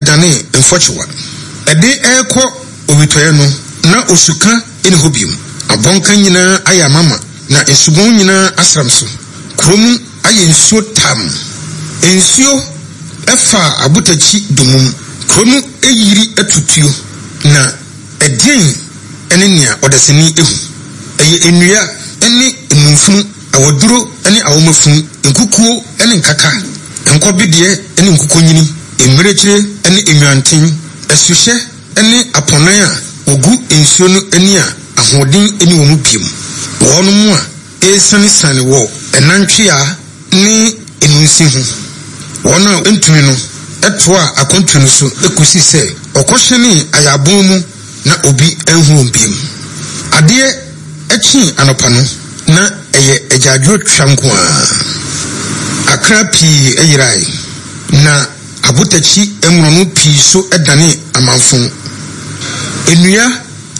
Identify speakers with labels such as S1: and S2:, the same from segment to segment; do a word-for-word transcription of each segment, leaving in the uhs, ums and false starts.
S1: danee mfɔkyewa. Ɛde rekɔ owitɔeɛ no, na osuka nni hɔ bio. Abɔnka nyinaa ayɛ amama, na nsubɔn nyinaa asram so. Kuro mu ayɛ nsuo tam. Nsuo faa abotakyi dommum. Kuro no ayiri atutuo, na ɛdeɛn ne nea ɔdasani hu? Ɛyɛ nnua ne nnumfunu, awaduro ne awomafunu, nkukuo ne nkaka, nkɔbedeɛ ne nkokɔnyini, mmirekyire ne nnwanten, asuhyɛ ne apɔnan a wɔgu nsuo no ani a ahoɔden nni wɔn mu bio. Wɔnom a ɛresianesiane wɔ ɛnantwea ne nnunsi ho. Wɔn a wɔntumi no toaa akwantu no so kosii sɛ wɔkɔhyɛnee Ayabon mu na obi anhu wɔn bio. Adeɛ kyee anɔpa no, na ɛyɛ agyaadwoɔ twa nko ara. Akra pii yerae, na abotakyi mmorɔno pii nso danee amamfõ. Nnua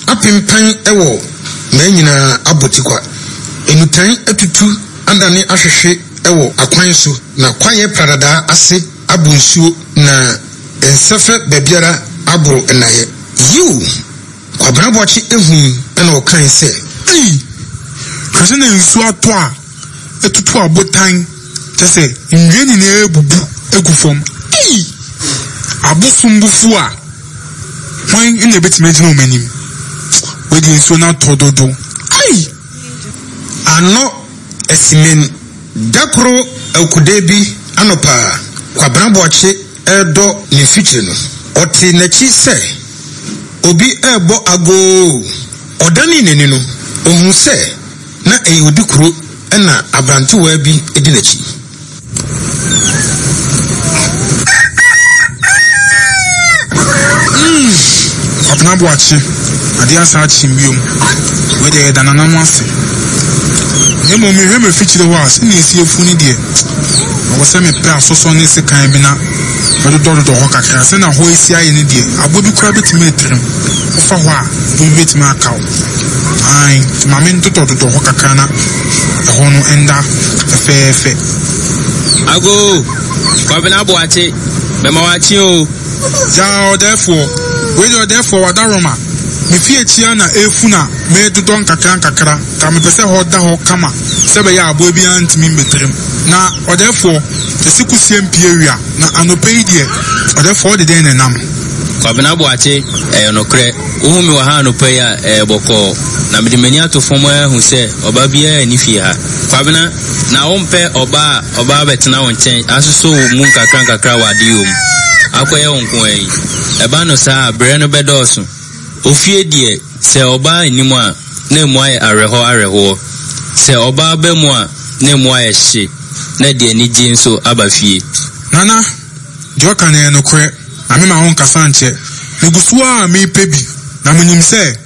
S1: apempan wɔ mmaa nyinaa abɔ tikwa. Nnutan atutu adane ahwehwe wɔ akwan so, na kwaeɛ pradadaa ase abɔ nsuo, na nsɛfɛ baabiara aboro nnaeɛ. Yiw! Kwabena Boakye hui na ɔkae sɛ.
S2: Ei! Hwɛ sɛnea nsuo atɔ a atutu abotan, kyerɛ sɛ, nnua nyinaa abubu agu fam. Ei! Abosom bo fuw a, hwan na ebetumi agyina wɔn anim? Wei deɛ nsuo no atɔ dodo. Ei!
S1: Ano asimen. Da koro awukude bi anɔpa a Kwabena Boakye redɔ ne mfikyiri no, ɔtee n'akyi sɛ obi rebɔ agoo. Ɔdanee n'ani no, ohuu sɛ na ɛyɛ odikuro na aberantewaa bi di n'akyi.
S2: Mm, Kwabena Boakye, adeɛ asa akyem biom. Wei deɛ yɛda Nana no ase. Na mmom mehwɛ m'afikyire hɔ a, sɛnea ɛsi afu no deɛ, ɛwɔ sɛ mepɛ asosɔ ne sekan bi na mɛdodɔdodɔ hɔ kakra. Sɛnea hɔ asi ayɛ no deɛ, aboa bi koraa bɛtumi atirim. Wofa hɔ a, aboa bi bɛtumi aka wo. Aane, nti ma mentotɔtotɔ hɔ kakra na ɛhɔ no nda fɛfɛɛfɛ.
S3: Agoo! Kwabena Boakye, mema wo akye oo.
S2: Yaa ɔdɛɛfoɔ, wei deɛ ɔdɛɛfoɔ w'adaworoma, me fie akyi ara na ɛrefu na meredodɔ nkakra nkakra, nka mepɛ sɛ hɔ da hɔ kama sɛ ɛbɛyɛ a aboa biara ntumi mmɛtirim. Na ɔdɛɛfoɔ, yɛse kusie mpue awia, na anɔpa yi deɛ, ɔdɛɛfoɔ wode dɛn na ɛnam?
S3: Kwabena Boakye, Ɛyɛ nokorɛ, wohu me wɔ ha anɔpa yi a, ɛyɛ bɔkɔɔ. Na mede m'ani ato fam ara ahu sɛ ɔbaa biara nni fie ha. Kwabena, Na wompɛ ɔbaa a ɔba abɛtena wo nkyɛn asosɔ wo mu nkakrankakra wɔ adeyɔ mu, akɔyɛ wo nko ara yi? Ɛba no saa a, brɛ no bɛdɔɔso. Ofie deɛ, sɛ ɔbaa nni mu a, na emu ayɛ awerɛhɔ awerɛhoɔ. Sɛ ɔbaa ba mu a, na emu ayɛ hye, na ɛde anigye nso aba fie.
S2: Nana, Deɛ ɔka no yɛ nokorɛ, na memma wo nkasa nkyɛ. Megu so ara a merepɛ bi, na menim sɛ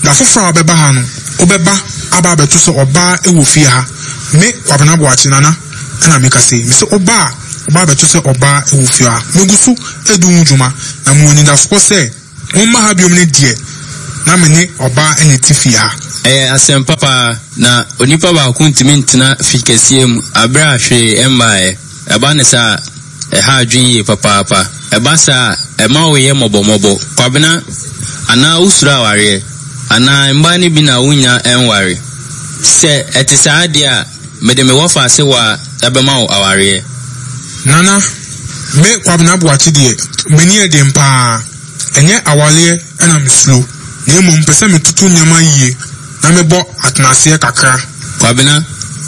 S2: da foforɔ a wobɛba ha no, wobɛba aba abɛto sɛ ɔbaa wɔ fie ha. Me, Kwabena Boakye, Nana, ɛna mekasa yi. Mese woba a, woba abɛto sɛ ɔbaa wɔ fie ha. Megu so redi ho dwuma, na mewɔ anidasoɔ sɛ womma ha biom no deɛ, na me ne ɔbaa na ɛte fie ha.
S3: Ɛyɛ asɛm pa paa, na onipa baako ntumi ntena fi kɛseɛ mu aberɛ a hwee mmaeɛ. Ɛba no saa a, ɛha adwene yie papaapa. Ɛba saa a, ɛma woyɛ mmɔbɔmmɔbɔ. Kwabena, anaa wosuro awareɛ? Anaa mmaa no bi na wonnya nware? Sɛ ɛte saa deɛ a, mede me wɔfaase waa bɛma wo awareɛ.
S2: Nana, me Kwabena Boakye deɛ, m'ani yɛ den pa ara. Ɛnyɛ awareɛ na mesuro, na mmom mepɛ sɛ metoto nneɛma yie na mebɔ atenaseɛ kakra.
S3: Kwabena,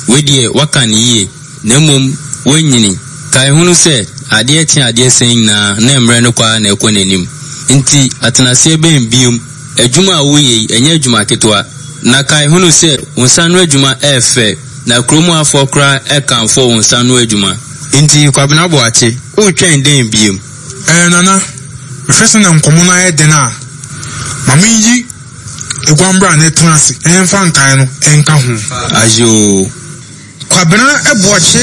S3: wei deɛ woaka no yie. Na mmom woanyini. Kae hunu sɛ, adeɛ kye adeɛ sa nyinaa na mmerɛ no kɔ ara na ɛkɔ n'anim. Nti atenaseɛ bɛn biom? Adwuma a woreyɛ yi, ɛnyɛ adwuma ketewa. Na kae hunu sɛ, wo nsa ano adwuma ɛyɛ fɛ, na kurom hafoɔ koraa ɛkamfo wo nsa ano adwuma. Nti Kwabena Boakye, woretwɛn dɛn biom?
S2: Ɛɛ Nana, mehwɛ sɛnea nkɔmmɔ no ayɛ den a, ma menyi Eguambra na ɛtena ase na yɛmfa nkae no nka ho.
S3: Ayoo.
S1: Kwabena Boakye.